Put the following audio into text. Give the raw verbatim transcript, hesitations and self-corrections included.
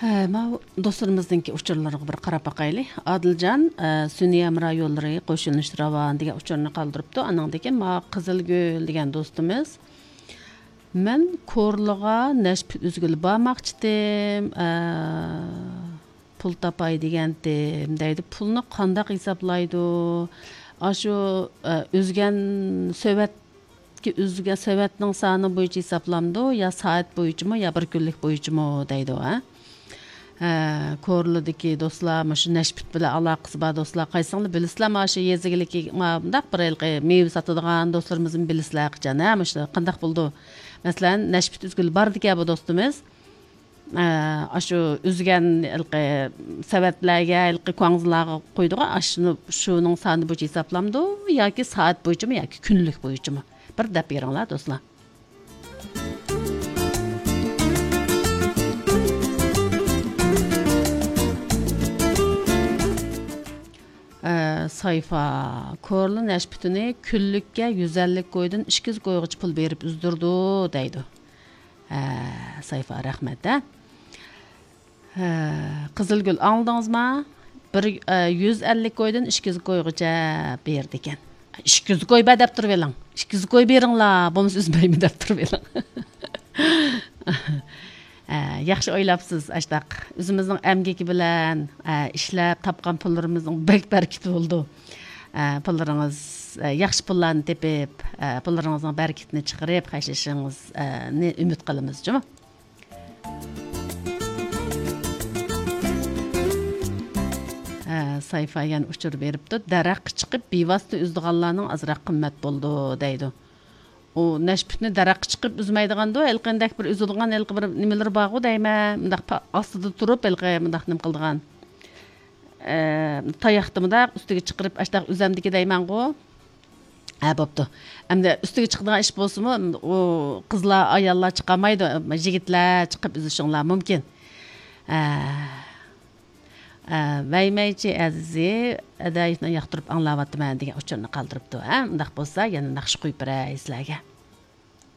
ئە، ماۋۇ دوستلىرىمىزنىڭكى ئۇچۇرلىرىغا بىر قاراپ باقايلى. ئادىلجان، ئە، سۈنئىي ھەمراھ يوللىرى قوشۇلۇش راۋان دېگەن ئۇچۇرنى قالدۇرۇپتۇ. ئانىڭدىن كېيىن ماۋۇ قىزىلگۈل دېگەن دوستىمىز، مەن كورلىغا نەشپۈت ئۈزگىلى بارماقچىتىم، ئە، پۇل تاپاي دېگەنتىم دەيدۇ. پۇلنى قانداق ھېسابلايدۇ؟ ئاشۇ، ئە، ئۈزگەن سۆۋەت ئۈزگەن سۆۋەتنىڭ سانى بويىچە ھېسابلامدۇ، يا سائەت بويىچىمۇ، يا بىر كۈنلۈك بويىچىمۇ دەيدۇ، ھە؟ ھە، كورلىدىكى دوستلار، مۇشۇ نەشپۈت بىلەن ئالاقىسى بار دوستلار، قايسىڭلار بىلىسىلەر، مانا شۇ يېزا ئىگىلىكى، مۇنداق بىر ھېلىقى مېۋە ساتىدىغان دوستلىرىمىزمۇ بىلىسىلەر قاچان، ھە، مۇشۇ قانداق بولىدۇ؟ مەسىلەن، نەشپۈت ئۈزگىلى باردىكەن بۇ دوستىمىز. ئە، ئاشۇ ئۈزگەن ھېلىقى سەۋەتلەرگە، ھېلىقى كۇاڭزىلارغا قويىدىغان، ئاشۇنى، شۇنىڭ سانى بويىچە ھېسابلامدۇ ياكى سائەت بويىچىمۇ ياكى كۈنلۈك بويىچىمۇ؟ بىر دەپ بېرىڭلار، دوستلار. ئە، سايفا، كورلا نەشپۈتىنى كۈنلۈككە يۈز ئەللىك كويدىن ئىككى يۈز كويغىچە پۇل بېرىپ ئۈزدۈرىدۇ، دەيدۇ. ھە، سايفا، رەھمەت، ھە. ھە، قىزىلگۈل، ئاڭلىدىڭىزما؟ بىر، ئە، يۈز ئەللىك كويدىن ئىككى يۈز كويغىچە بېرىدىكەن. ئىككى يۈز كوي بەر دەپ تۇرۇۋېلىڭ. ئىككى يۈز كوي بېرىڭلار، بولمىسا ئۈزمەيمەن دەپ تۇرۇۋېلىڭ. ئە، ياخشى ئويلاپسىز، ئاشتاق. ئۆزىمىزنىڭ ئەمگىكى بىلەن، ئە، ئىشلەپ تاپقان پۇللىرىمىزنىڭ بەك بەرىكىتى بولىدۇ. ئە، پۇللىرىڭىز، ئە، ياخشى پۇللارنى تېپىپ، ئە، پۇللىرىڭىزنىڭ بەرىكىتىنى چىقىرىپ خەجلىشىڭىزنى ئۈمىد قىلىمىز جۇمۇ. ئە، سايفا يەنە ئۇچۇر بېرىپتۇ، دەرەخكە چىقىپ بىۋاسىتە ئۈزىدىغانلارنىڭ ئازراق قىممەت بولىدۇ دەيدۇ. ئۇ نەشپۈتنى دەرەخكە چىقىپ ئۈزمەيدىغاندۇ، ھېلىقى ئەندەك بىر ئۈزىدىغان ھېلىقى بىر نېمىلىرى بارغۇ دەيمەن، مۇنداق پا-، ئاستىدا تۇرۇپ ھېلىقى مۇنداق نېمە قىلىدىغان. ئە، تاياقنى مۇنداق ئۈستىگە چىقىرىپ ئاشتاق ئۈزەمدىكى دەيمەنغۇ. ھە، بوپتۇ. ئەمدى ئۈستىگە چىقىدىغان ئىش بولسىمۇ، ئۇ قىزلار، ئاياللار چىقالمايدۇ، يىگىتلەر چىقىپ ئۈزۈشۈڭلار مۇمكىن. ھە. ئە، ۋەيمەيچى ئەزىزى، ئەدەيىفنى ياقتۇرۇپ ئاڭلاۋاتىمەن دېگەن ئۇچۇرنى قالدۇرۇپتۇ. ھە، ئۇنداق بولسا يەنە ناخشا قويۇپ بېرەي سىلەرگە.